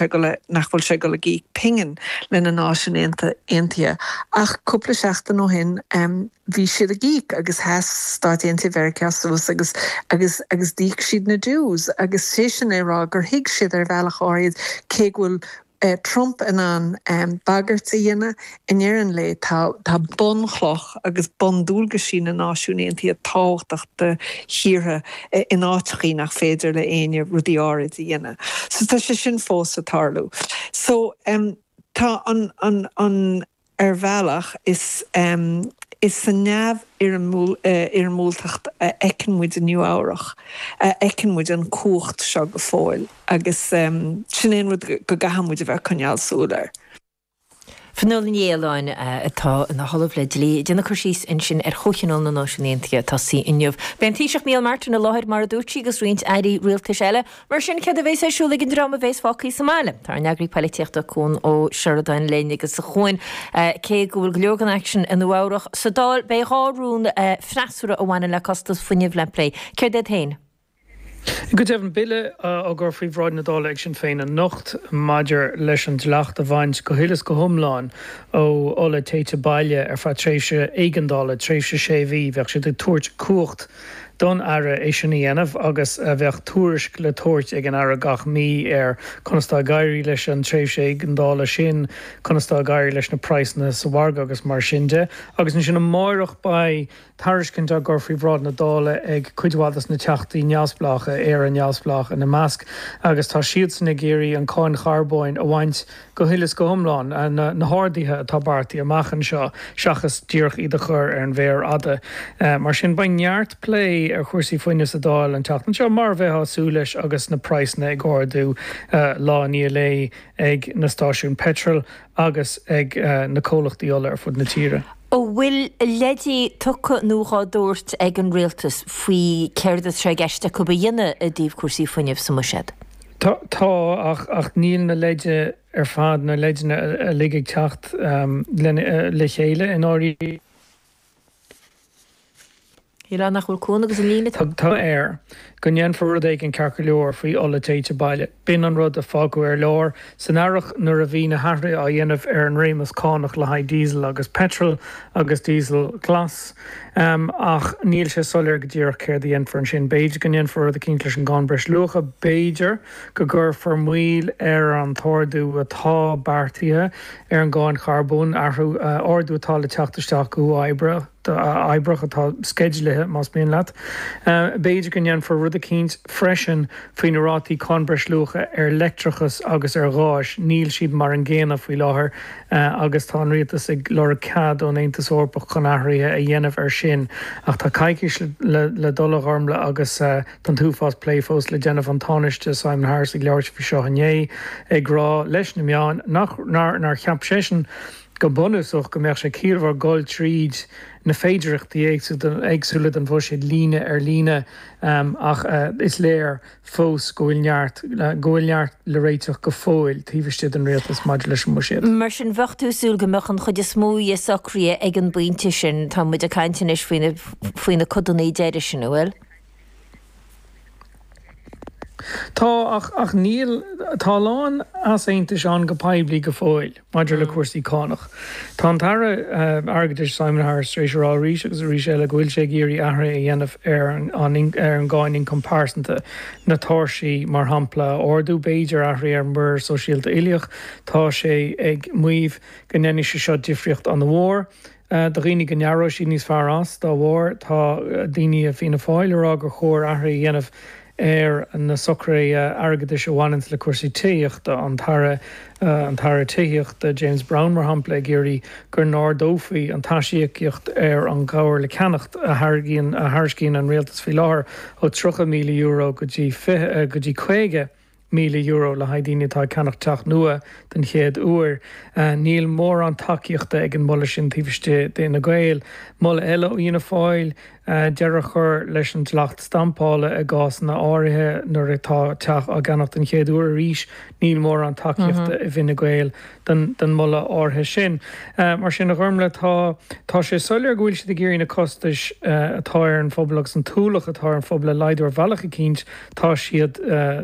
Nach bhfuil sé ag dul ag íoc pingin le na Náisiúin Aontaithe ach cúpla seachtain ó shin bhí siad ag íoc agus sheas Stáit Aontaithe Mheiriceá suas agus agus agus d'íoc siad na dues agus sé sin é rá gur thuig siad ar bhealach áirid cé go bhfuil Trump in ann bagairt a dhéanamh, i ndeireadh an lae tá tá bunchloch agus bundualgaisí na Náisiún Aontaithe tábhachtach do thíortha in áiteachaí nach féidir le éinne rudaí áirid a dhéanamh. So tá sé sin fós ag tarlú. So tá an, an, an, ar bhealach is, is sa neamhfhoirmiúltacht a fheiceann muid i Nua Eabhrach, a fheiceann muid an cumhacht seo go fóill agus sin é an rud go gcaithfidh muid a bheith ag coinneáil súil air. Fionnuala Ní Aoláin, atá ina hOllamh le Dlí, ag déanamh cur síos ansin ar Chomhthionól na Náisiún Aontaithe ag tosaí inniu. Beidh an Taoiseach Micheál Martin i láthair, mar a dúirt sí, agus roinnt airí rialtais eile. Mar sin, céard a bheas ar siúl ag an dream a bheas fágtha sa mbaile? Tá ár n-eagraí poilitíochta Cuan Ó Seireadáin linn agus a Chuain, cé go bhfuil go leor den aicsean i Nua Eabhrach, sa Dáil beidh 2 rún freasúra a bhaineann le costas fuinnimh le plé. Céard iad féin? Go deimhin, bille á gcur faoi bhráid na Dála ag Sinn Féin anocht maidir leis an dleacht a bhaint go huile is go hiomlán ó ola téite baile ar feadh tréimhse éigeandála, tréimhse sé mhí. Bheadh siad ag tabhairt cumhacht don Aire é sin a dhéanamh agus bheadh tuairisc le tabhairt ag an Aire gach mí ar conas tá ag éirí leis an tréimhse éigeandála sin, conas tá ag éirí leis na praghsanna sa mhargadh agus mar sin de. Agus ansin amáireach beidh. Tairiscint á gcur faoi bhráid na Dála ag cuid mhaith dos na Teachtaí neamhspleácha, Éire Neamhspleách ina measc, agus tá siadsan ag iarraidh an cáin charbóin a bhaint go huile is go hiomlán, na harduithe atá beartaithe amach anseo, seachas díreach iad a chur ar an mhéar fhada. Mar sin, beidh neart plé ar chúrsaí fuinnimh sa Dáil an tseachtain seo, mar a bheifeá ag súil leis agus na praghsanna ag ardú lá i ndiaidh lae ag na stáisiúin peitril agus ag na comhlachtaí ola ar fud na tíre. An bhfuil leidí tugtha nó dhá dtabhairt ag an Rialtas faoi céard atá sé i gceist acu a dhéanamh i dtaobh cúrsaí fuinnimh sa mBuiséad? Tá, ach níl na leide ar fad, na leideanna uilig ag teacht le chéile i ndáiríre. Shílfeá nach bhfuil Cuan agus an líne. Tá air go ndéanfar rud éigin ceart go leor faoi ola téite baile. B'in an rud a fágadh ar lár san earrach nuair a bhí na hathruithe á dhéanamh ar an réimeas cánach le haghaidh díosal agus peitreal agus díosal glas. Ach níl sé soiléir go díreach céard a dhéanfar ansin. B'fhéidir go ndéanfar rud eicínt leis an gcáin breisluacha. B'fhéidir go gcuirfear moill ar an t-ardú atá beartaithe ar an gcáin charbóin, athrú, ardú atá le teacht isteach go huathoibríoch. uathoibríoch atá sceidealaithe, más mian leat. B'fhéidir go ndéanfar rud eicínt freisin faoi na rátaí cáin breisluacha ar leictreachas agus ar ghás. Níl siad mar an gcéanna faoi láthair agus tá an rialtas ag lorg cead ón Aontas Eorpach chun athruithe a dhéanamh air sin. Ach tá coicís le dul, a Ghormlaith, agus tá an t-uafás plé fós le déanamh. An Tánaiste Simon Harris ag labhairt faoi seo inné, ag rá leis na meáin nach, nár cheap seisean go bunúsach, go mbeadh sé ciallmhar dul tríd na féidearthachtaí éagsúla don bhuiséad líne ar líne ach is léir fós go bhfuil neart, go bhfuil neart le réiteach go fóill taobh istigh den rialtas maidir leis an mbuiséad. Mar sin, bheadh tú ag súil go mbeadh an chuid is mó dhe socraithe ag an bpointe sin. Tá muid ag caint anois faoi na, faoi na codanna deiridh sin, an bhfuil? Tá, ach, ach níl, tá a lán easaontais ann go poiblí go fóill maidir le cúrsaí cánach. Tá an tAire Airgeadais Simon Harris tar éis a rá arís agus arís eile go bhfuil sé ag iarraidh athruithe a dhéanamh ar an ar an gcáin ioncam pearsanta, na tairsí mar shampla a ardú, b'fhéidir athruithe ar an muirear sóisialta uilíoch. Tá sé ag maíomh go ndéanfaidh sé seo difríocht an-mhór. Do dhaoine go n-aireoidh siad níos fearr as dá bharr. Tá daoine i Fianna Fáil ag rá gur chóir athruithe a dhéanamh ar na socruithe airgeadais a bhaineanns le cúrsaí tithíochta, an tAire an tAire Tithíochta James Browne mar shampla ag iarraidh go n-ardófaí an t-aisíocaíocht ar an gcabhair le ceannacht a thairgíonn a thairiscíonn an rialtas faoi láthair ó €30,000 go dtí go dtí €50,000 le haghaidh daoine atá ag ceannach teach nua den chéad uair. Níl mórán tacaíochta ag an moladh sin taobh istigh d'Fhine Gael. Moladh eile ó Fhianna Fáil, deireadh a chur leis an dleacht stampála i gcásanna áirithe nuair atá teach á gceannach den chéad uair. Arís, níl mórán tacaíochta i bhFine Gael don moladh áirithe sin. Mar sin, a Ghormlaith, tá tá sé soiléir go bhfuil siad ag iarraidh na costais atá ar an phobal agus an t-ualach atá ar an phobal a laghdú ar bhealach eicínt. Tá siad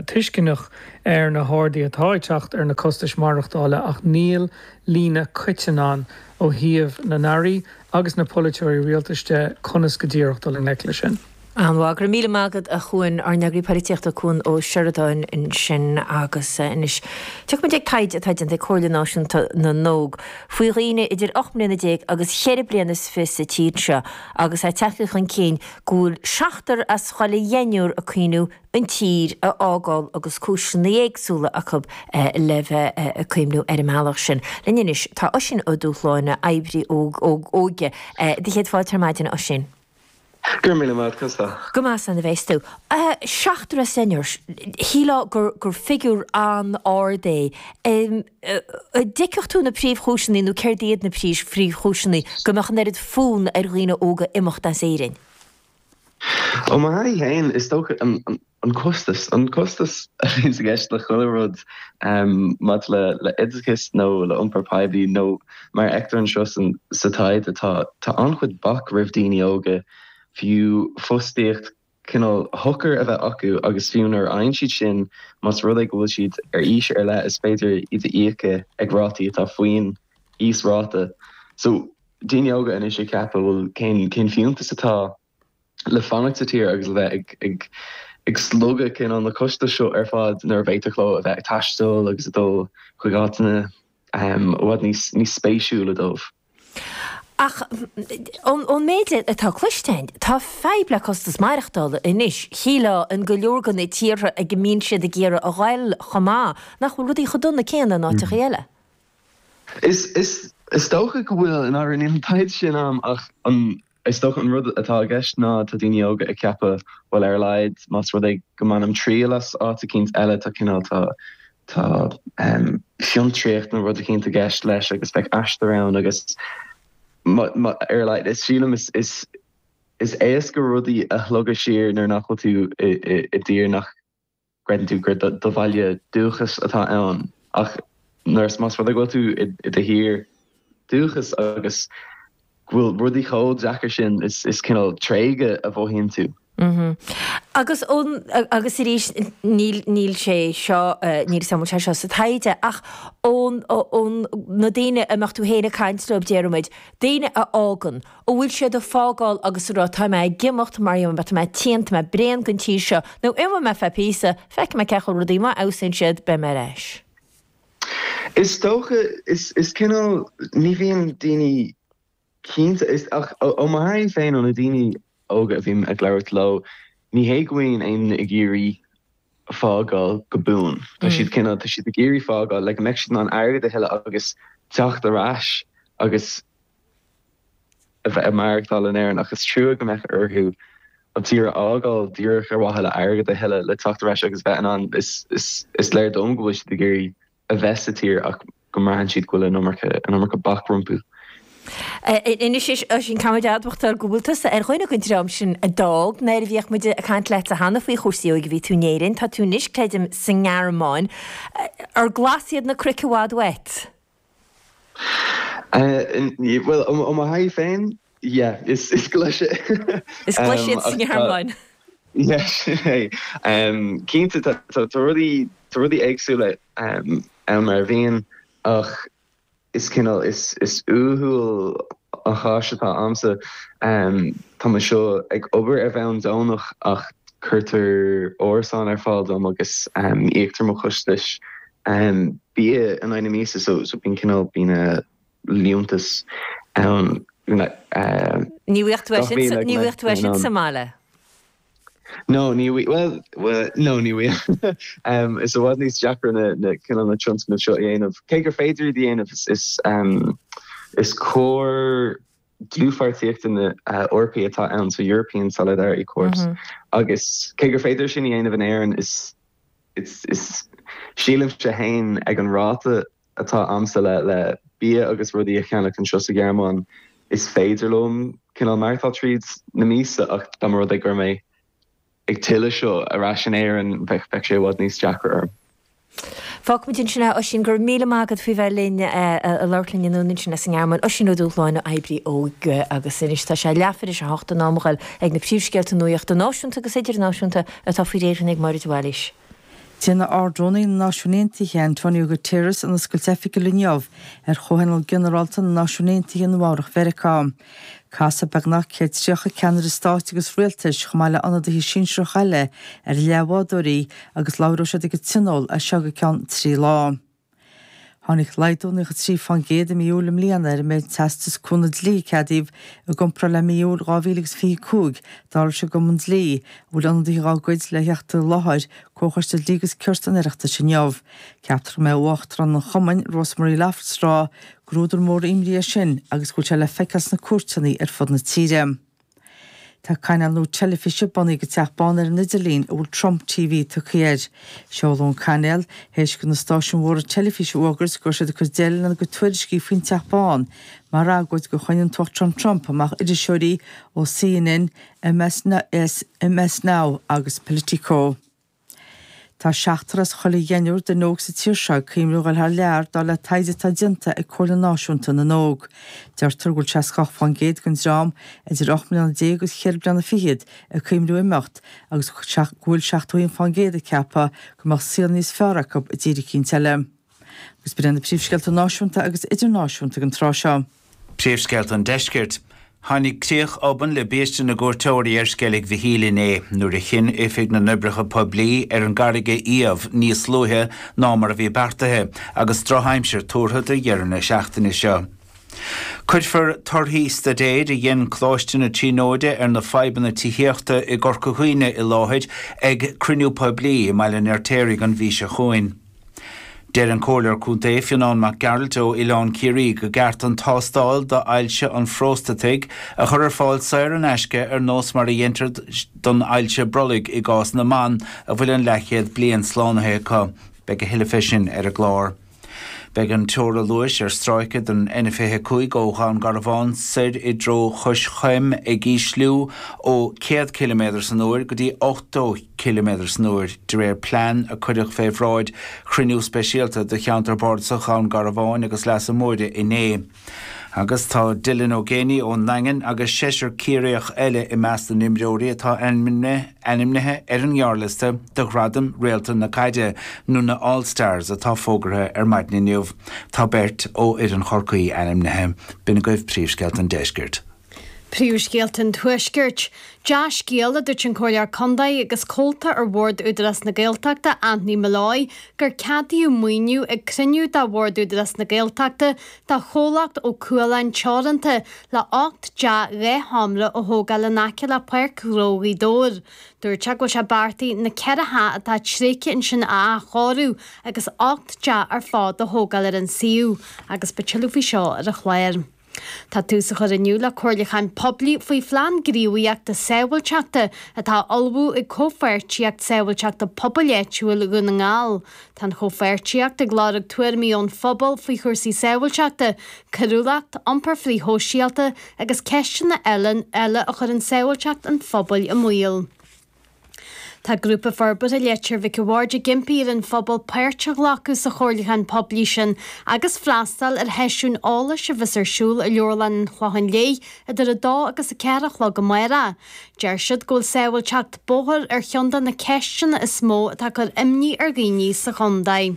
tuisceanach. ar na harduithe atá ag teacht ar na costais maireachtála ach níl líne coiteann ann ó thaobh na n-airí agus na polaiteoirí rialtais de conas go díreach dul i ngleic leis sin. An-mhaith. Go raibh míle maith agat a Chuain, ár n-eagraí polaitíochta Cuan Ó Seireadáin ansin agus anois tiocfaimid ag taighde atá déanta ag Comhairle Náisiúnta na nÓg faoi dhaoine idir 18 mbliana agus cheithre bliana is fiche sa tír seo agus é tagtha chun cinn go bhfuil seachtar as chuile dheichniúr ag cuimhniú an tír a fhágáil agus cúiseanna éagsúla acu le bheith ag cuimhniú ar an mbealach sin. Linn anois tá Oisín Ó Dúshláine, oibrí óige. Do chéad fáilte ar maidin, a Oisín. Go raibh míle maith agat, conas tá? Go maith, slán a bheas tú. Seachtar as deichniúr, shílfeá gur gur figiúr an-ard é. An dtuigfeadh tú na príomhchúiseanna nó céard iad na príomhchúiseanna go mbeadh an oiread fonn ar dhaoine óga imeacht as Éirinn? Ó mo thaithí féin, is dócha an costas. An costas a bhíonns i gceist le chuile rud maidir le le oideachas nó le iompar poiblí nó mar a fheictear anseo sa taighde tá tá an-chuid bac roimh daoine óga fiú fostaíocht cineál shocair a bheith acu agus fiú nuair a fhaigheann siad sin más rud é go bhfuil siad ar aois ar leith is féidir iad a íoc ag rátaí atá faoin íosráta. So daoine óga anois ag ceapadh, bhuel, cén, cén fiúntas atá le fanacht sa tír agus le bheith ag, ag, ag slogadh cineál na costais seo ar fad nuair a bhféadfadh leo a bheith ag taisteal agus ag dul chuig áiteanna um, i bhfad níos, níos spéisiúla dóibh. Ach ón, ón méid atá cloiste againn, tá fadhb le costas maireachtála anois, shílfeá, in go leor de na tíortha ag a mbíonn siad ag iarraidh a ghoil chomh maith, nach bhfuil rudaí chomh dona céanna in áiteachaí eile. Is, is, is dócha go bhfuil, i ndáiríre, níl an taighde sin a'm ach an, is dócha an rud atá i gceist ná tá daoine óga ag ceapadh, bhuel ar a laghad más rud é go mbainim triail as áit eicínt eile tá cineál, tá, tá em fiontraíocht nó rud eicínt i gceist leis agus beidh aistear ann agus má, má, ar a laghad, is sílim is, is, is éasca rudaí a shlogadh siar nuair nach bhfuil tú i, i, i dtír nach. gcreideann tú gur do bhaile dúchais atá ann ach nuair is más rud é go bhfuil tú i do thír dúchais agus go bhfuil rudaí chomh deacair sin is is cineál tréigeadh a mhothaíonn tú. Agus ón agus arís níl níl sé seo níl a fhios agam an bhfuil sé seo sa taighde ach ón ón na daoine a mbeadh tú féin ag caint leo déarfaimid daoine a fhágann An bhfuil siad ag fágáil agus ag rá tá mé ag imeacht mar tá mé tinn, tá mé bréan den tír seo, nó imeoidh mé feadh píosa, feicfidh mé cén chaoi a bhfuil rudaí, má fheabhsaíonn siad, beidh mé ar ais. Is dócha, is is cineál, ní bhíonn daoine cinnte, is ach ó mo thaithí féin, ó na daoine óga a bhím ag labhairt leo, ní hé go mbíonn éinne ag iarraidh fágáil go buan. Tá siad cineál, tá siad ag iarraidh fágáil le go mbeidh siad in ann airgead a thuilleadh agus teacht ar ais agus a bheith ag maireachtáil in Éirinn ach is trua go mbeadh orthu an tír a fhágáil díreach ar mhaithe le airgead a thuilleadh le teacht ar ais agus bheith in ann is is is léir dom go bhfuil siad ag iarraidh a bheith sa tír ach go mbraitheann siad go bhfuil an iomarca an iomarca bac rompu. Anois Oisín caithfimid a admhachtáil go bhfuil tusa ar dhuine den dream sin a d'fhág nuair a bhíodh muid ag caint leatsa cheana faoi chúrsaí óige bhí tú in Éirinn, tá tú anois creidim sa nGearmáin. Ar glas iad na cnoic i bhfad uait? Bhuel, ó mo thaithí féin, yeah, is glaise. Is glaise iad sa nGearmáin. Yeah, sin é. Cinnte, tá rudaí, tá rudaí éagsúla ann mar a bhíonn, ach is cineál, is uathúil an chás atá a'msa. Táim anseo ag obair ar bhonn deonach ach cuirtear árasán ar fáil dom agus íoctar mo chostais bia in aghaidh na míosa so so bíonn cineál bíonn liúntas ann Ní bhfuigheadh tú é sin sa ní bhfuigheadh tú é sin sa mbaile? No ní bhfuigheadh bhuel no ní bhfuigheadh. Is i bhfad níos deacra na na cineál na tionscnaimh seo a dhéanamh. Cé gur féidir iad a dhéanamh is is is cór dlúthpháirtíochta na Eorpaí atá ann so European Solidarity Corps agus cé gur féidir sin a dhéanamh in Éirinn is Is sílimse féin ag an ráta atá a'msa le le bia agus rudaí a cheannach anseo sa Ghearmáin, is féidir liom cineál maireachtáil tríd na míosa ach dá mba rud é go raibh mé ag tuilleadh seo ar ais in Éirinn bheadh bheadh sé i bhfad níos deacra orm. Fágfaimid ansin é, Oisín, go raibh míle maith agat faoi bheith linn, ag labhairt linn anonn ansin as an nGearmáin. Oisín Ó Dúshláine, oibrí óige agus anois tá sé leathuair tar éis a hocht in am a ghoil ag na príomhscéalta nuachta náisiúnta agus idirnáisiúnta atá faoi réir ag Máire de Bhailís. Déanfaidh Ard-Rúnaí na Náisiún Aontaithe, Antonio Guterres, an oscailt oifigiúil inniu ar Chomhthionól Ginearálta na Náisiún Aontaithe i Nua-Eabhrac Mheiriceá. Casfaidh beagnach 130 ceannaire stáit agus rialtais, chomh maith le ionadaithe sinsearacha eile, ar a leathbhádóirí agus labhróidh siad ag an tionól as seo go ceann 3 lá. Tháinig laghdú 93% i mí Iúil i mbliana ar an méid teastas cúnamh dlí a ceadaíodh i gcomparáid le mí Iúil 2025, dar leis an gCumann Dlí, a bhfuil ionadaithe dá gcuid le theacht i láthair Comhchoiste Dlí agus Cirt an Oireachtais inniu. Ceaptar go mbeidh Uachtarán an Chumainn, Rosemary Loftus ag rá gur údar mór imní é sin agus go bhfuil sé le feiceáil sna cúirteanna ar fud na tíre. Tá cainéal nua teilifíse bunaithe ag an Teach Bán ar an idirlíon a bhfuil Trump TV tugtha air. Seoladh an cainéal théis do na stáisiúin mhóra teilifíse a fhógairt go raibh siad ag cur deireadh lena gcuid tuairiscí faoin Teach Bán mar agóid gur choinnigh an tUachtarán Trump amach iriseoirí ó CNN, MS Now agus Politico. Tá seachtar as chuile dheichniúr duine óg sa tír seo ag cuimhneamh a dhul thar lear, dar le taighde atá déanta ag Comhairle Náisiúnta na nÓg. Deirtear go bhfuil 68% den dream idir 18 mbliana agus cheithre bliana fichead ag cuimhneamh imeacht agus go bhfuil 71% ag ceapadh go mbeadh saol níos fearr acu i dtír eicínt eile. Agus b'in iad na príomhscéalta náisiúnta agus idirnáisiúnta ag an tráth seo. Príomhscéalta an Deiscirt. Tháinig críoch obann le biaiste na gcuairteoirí ar Sceilg Mhichíl inné nuair a chinn Oifig na nOibreacha Poiblí ar an gcarraig a iamh níos luaithe ná mar a bhí beartaithe agus drochaimsir tuartha do dheireadh na seachtaine seo. Cuirfear torthaí staidéir a dhein Coláiste na Tríonóide ar na fadhbanna tithíochta i gCorca Dhuibhne i láthair ag cruinniú poiblí i mBaile an Fheirtéaraigh an mhí seo chugainn. Deir an Comhairleoir Contae Fionán Mac Gearailt ó Oileán Ciarraí go gceart an tástáil d'ailse an phróstataigh a chur ar fáil saor in aisce ar nós mar a dheintear don ailse brollaigh i gcás na mban a bhfuil an leathchéad bliain slánaithe acu. Beidh a thuilleadh fé sin ar an gclár. Beidh an teora luais ar stráice den N25 ó Dhún Garbhán soir i dtreo Chois Choim ag ísliú ó 100 ciliméadar san uair go dtí 80 ciliméadar san uair, de réir plean a cuireadh fé bhráid chruinniú speisialta de Cheantar Bardasach Dhún Garbhán agus Leasa Móire inné. Agus tá Dylan Ó Géibheannaigh ón nDaingean agus seisear Ciarraíoch eile i measc na n-imreoirí atá ainmnithe ar an ngearrliosta do Ghradaim Réalta na Caide, nó na All Stars, atá fógartha ar maidin inniu. Tá beirt ó fhoireann Chorcaí ainmnithe. B'in agaibh príomhscéalta an deiscirt. Príomhscéalta an Tuaiscirt. Dea-scéal, a dúirt an Comhairleoir Contae agus comhalta ar Bhord Údarás na Gaeltachta, Anthony Molloy, gur ceadaíodh maoiniú ag cruinniú de Bhord Údarás na Gaeltachta do chomhlacht Ó Cualáin Teoranta le 8 dteach 2 sheomra a thógáil in aice le Páirc Ghnó Ghaoth Dobhair. Dúirt sé go bhfuil sé beartaithe na ceithre theach atá tréigthe ansin a athchóiriú agus 8 dteach ar fad a thógáil ar an suíomh agus beidh tuilleadh faoi seo ar an chlár. Tá tús á chur inniu le comhairliúchán poiblí faoi Phlean Gníomhaíochta Sábháilteachta atá á ullmhú ag Comhpháirtíocht Sábháilteachta Pobail Áitiúil Dhún na nGall. Tá an chomhpháirtíocht ag lorg tuairimí ón phobal faoi chúrsaí sábháilteachta, coiriúlacht, iompar frithshóisialta agus ceisteanna eile eile a chuireann sábháilteacht an phobail i mbaol. Tá Grúpa Forbartha Leitir Mhic a' Bhaird ag impí ar an phobal páirt a ghlacadh sa chomhairliúchán poiblí sin agus freastal ar sheisiún eolais a bheas ar siúl i Leabharlann an Chlocháin Léith idir 2 agus 4 a chlog amárach. Deir siad go bhfuil sábháilteacht bóthair ar cheann de na ceisteanna is mó atá ag cur imní ar dhaoine sa chontae.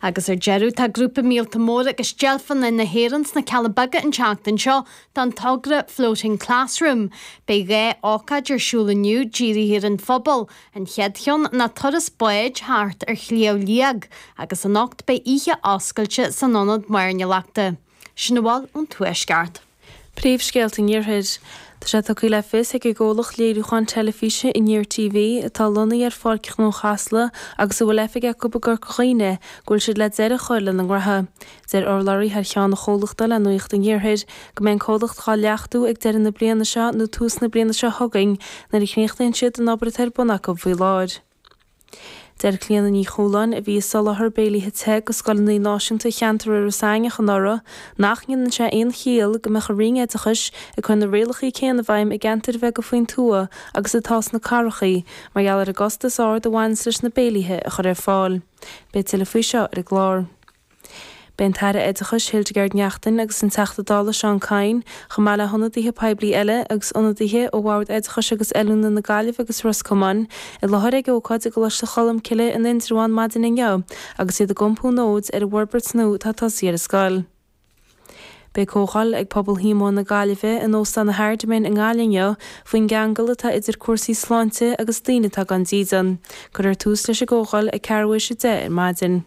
Agus ar deireadh, tá grúpa míolta móra agus deilfeanna na hÉireann sna Cealla Beaga an tseachtain seo don togra Floating Classroom. Beidh 2 ócáid ar siúl inniu dírithe ar an phobal, an chéad cheann ná turas báid thart ar Shliabh Liag agus anocht beidh oíche oscailte san Ionad Mairnéalachta. Sin a bhfuil ón Tuaisceart. Príomhscéalta an Iarthair. Tá sé tugtha le fios ag an gcomhlacht léiriúcháin teilifíse Aniar TV, atá lonnaithe ar Pháirc Ghnó Chasla agus a bhfuil oifig acu i gCorca Dhuibhne, go bhfuil siad le deireadh a chur lena ngnótha. Deir urlabhraí thar cheann an chomhlachta le Nuacht an Iarthair go mbeidh an comhlacht dhá leachtú ag deireadh na bliana seo nó tús na bliana seo chugainn nuair a chríochnaíonn siad an obair atá ar bun acu faoi láthair. Deir Clíona Ní Chualáin, a bhí ag soláthar béilithe te go scoileanna náisiúnta cheantar Iorras Aithneach anuraidh, nach ndéanann sé aon chiall go mbeadh an Roinn Oideachais ag cur na rialacha céanna i bhfeidhm i gceantair bheaga faoin tuath agus atá sna cathracha mar gheall ar an gcostas ard a bhaineanns leis na béilithe a chur ar fáil. Beidh tuilleadh faoi seo ar an gclár. Beidh an tAire Oideachais Hildegarde Naughton agus an Teachta Dála Seán Kyne, chomh maith le hionadaithe poiblí eile agus ionadaithe ó Bhord Oideachais agus Oiliúna na Gaillimhe agus Ros Comáin, i láthair ag ócáid i gColáiste Cholmcille in Indreabhán maidin inniu agus iad ag iompú nóid ar an bhforbairt nua atá tosaithe ar an scoil. Beidh comhdháil ag pobal Shíomóin na Gaillimhe in Óstán na Hardiman i nGaillimh inniu faoin gceangal atá idir cúrsaí sláinte agus daoine atá gan dídean. Cuirfear tús leis an gcomhdháil ag ceathrú théis a 10 ar maidin.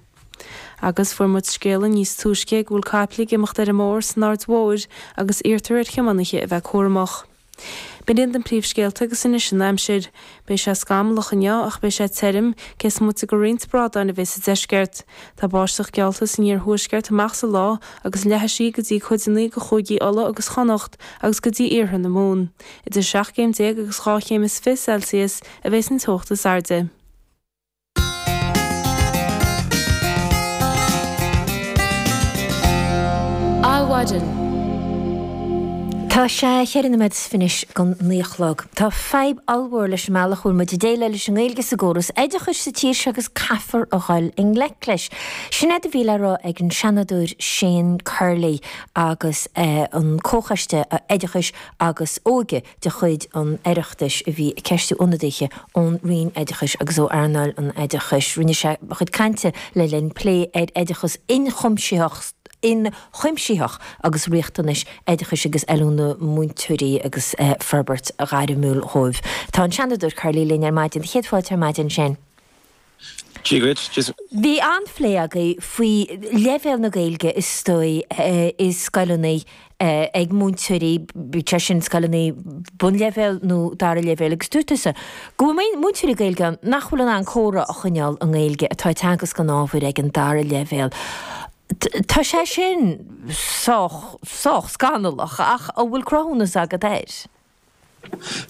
Agus fuair muid scéala níos túisce go bhfuil caiple ag imeacht ar an mbóthar san Aird Mhóir agus iarrtar ar thiománaithe a bheith cúramach. B'in iad na príomhscéalta agus anois an aimsir. Beidh sé scamallach inniu ach beidh sé tirim, cé is moite de roinnt bradán a bheidh sa deisceart. Tá báisteach geallta san iarthuaisceart amach sa lá agus leathfaidh sí go dtí cuideanna de chúigí Uladh agus Chonnacht agus go dtí iarthar na Mumhan. Idir 17 céim agus 12 chéim Celsius a bheas an teocht is airde. Adhmhaidin. Tá sé cheithre nóiméad is fiche anois don naoi a chlog. Tá fadhb ollmhór leis an mbealach a bhfuil muid ag déileáil leis an nGaeilge sa gcóras oideachais sa tír seo agus caithfear a dhul i ngleic leis. Sin é a bhí le rá ag an Seanadóir Shane Curley agus an Comhchoiste Oideachais agus Óige de chuid an Oireachtais a bhí ag ceistiú ionadaithe ón Roinn Oideachais agus ó earnáil an oideachais. Rinne sé a chuid cainte le linn plé ar oideachas ionchuimsitheach ionchuimsitheach agus riachtanais oideachais agus oiliúna múinteoirí agus forbairt ghairmiúil dhóibh. Tá an Seanadóir Curley linn ar maidin. Céad fáilte ar maidin, Shane. Dia dhuit. Bhí an-phlé agaibh faoi leibhéal na Gaeilge is dóigh i scoileanna ag múinteoirí, bíodh sé sin scoileanna bunleibhéil nó dara leibhéal agus dúirt tusa go bhfuil múinteoirí Gaeilge ann nach bhfuil in ann comhrá a choinneáil i nGaeilge atá ag teagasc an ábhair ag an dara leibhéal. Tá sé sin sách, sách scannalach ach an bhfuil cruthúnas agat air?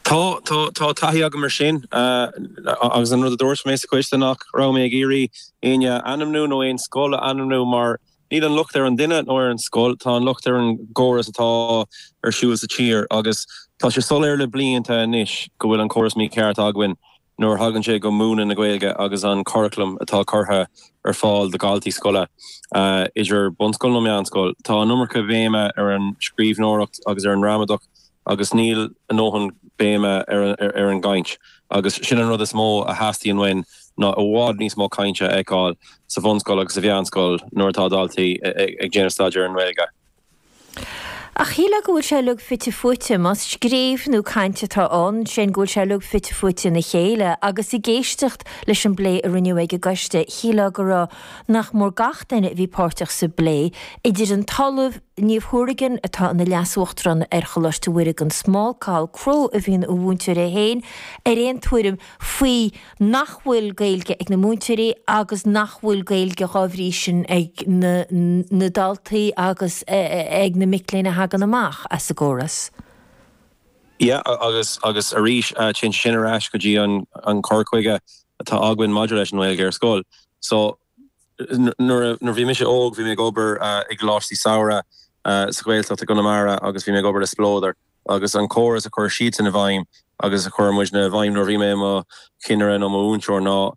Tá, tá, tá taithí agam ar sin agus an rud a dúirt mé sa choiste nach raibh mé ag iarraidh éinne a ainmniú nó aon scoil a ainmniú mar níl an locht ar an duine nó ar an scoil, tá an locht ar an gcóras atá ar siúl sa tír agus tá sé soiléir le blianta anois go bhfuil an córas mícheart againn nuair a thagann sé go múineadh na Gaeilge agus an curaclam atá curtha ar fáil do dhaltaí scoile, idir bunscoil nó meánscoil. Tá an iomarca béime ar an scríbhneoireacht agus ar an ngramadach agus níl a ndóthain béime ar an gcaint. Agus sin an rud is mó a theastaíonn uainn ná i bhfad níos mó cainte a fheiceáil sa bhunscoil agus sa mheánscoil nuair atá daltaí ag déanamh staidéar ar an nGaeilge. Ach shílfeá go bhfuil sé uilig fite fuaite, más scríobh nó caint atá ann, sin go bhfuil sé uilig fite fuaite ina chéile, agus ag éisteacht leis an bplé a rinneadh ag an gcoiste, shílfeá go raibh nach mór gach duine a bhí páirteach sa bplé, idir an tOllamh Niamh Hourigan, atá ina Leas-Uachtarán ar Choláiste Mhuire gan Smál, Cathal Crowe a bhí ina mhúinteoir é féin, ar aon tuairim faoi nach bhfuil Gaeilge ag na múinteoirí agus nach bhfuil Gaeilge dhá bhrí sin ag na na daltaí agus ag na mic léinn a thagann amach as an gcóras. Yeah, agus agus arís téann sé sin ar ais go dtí an an cur chuige atá againn maidir leis an nGaeilge ar scoil. So nuair a bhí mise óg bhí mé ag obair i gcoláistí samhraidh sa Ghaeltacht i gConamara agus bhí mé ag obair le Spleodar. agus an córas a chuir siadsan i bhfeidhm agus a chuir muidne i bhfeidhm nuair a bhí mé i mo chinnire nó mo mhúinteoir ná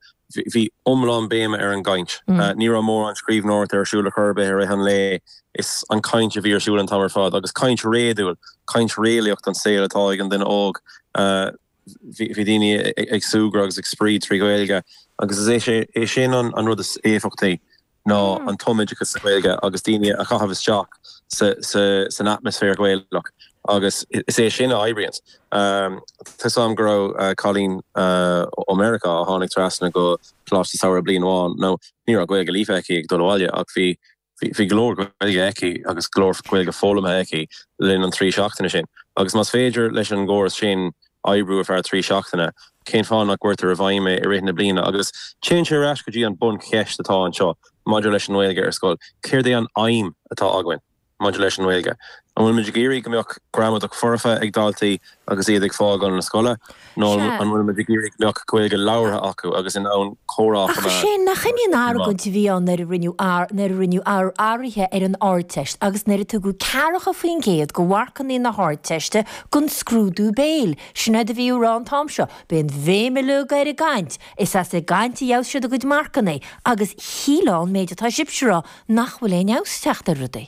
bhí iomlán béime ar an gcaint. Ní raibh mórán scríbhneoireachta ar siúl ar chor ar bith i rith an lae, is an chaint a bhí ar siúl an t-am ar fad agus caint réadúil, caint réalaíoch don saol atá ag an duine óg. Bhí daoine ag súgradh agus ag spraoi trí Ghaeilge agus is é sin an rud is éifeachtaí. ná an tumoideachas sa Ghaeilge agus daoine a chaitheamh isteach san atmaisféar Gaelach agus is é sin a oibríonns. Tá 'fhios a'm go raibh cailín ó Meiriceá a tháinig trasna go Coláiste Samhraidh bliain amháin, nó ní raibh Gaeilge líofa aici ag dul abhaile ach bhí bhí go leor Gaeilge aici agus go leor Gaeilge foghlamtha aici le linn an trí seachtaine sin. Agus más féidir leis an gcóras sin oibriú ar feadh trí seachtaine, cén fáth nach gcuirtear i bhfeidhm é i rith na bliana? Agus téann sé ar ais go dtí an buncheist atá anseo maidir leis an nGaeilge ar scoil, céard é an aidhm atá againn maidir leis an nGaeilge? An bhfuil muid ag iarraidh go mbeadh gramadach foirfe ag daltaí agus iad ag fágáil na scoile, nó an bhfuil muid ag iarraidh go mbeadh Gaeilge labhartha acu agus in ann comhrá a Ach sin, nach in í an argóint a bhí ann nuair a rinneadh nuair a rinneadh athruithe ar an Ardteist agus nuair a tugadh 40% de mharcanna na hArdteiste don scrúdú béil. Sin é a bhí á rá an t-am seo. B'é an bhéim uilig ar an gcaint. Is as an gcaint a gheobhas siad a gcuid marcanna agus shílfeá an méid atá sibhse a rá nach bhfuil aon fheabhas ag teacht ar rudaí.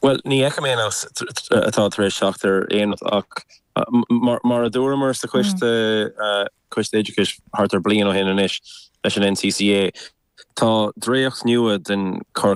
Bhuel, ní fheicim aon fheabhas atá tar éis teacht ar aon rud ach mar a dúramar sa choiste, Coiste Oideachais thart ar bliain ó shin anois leis an NCCA, tá dréacht nua den chur.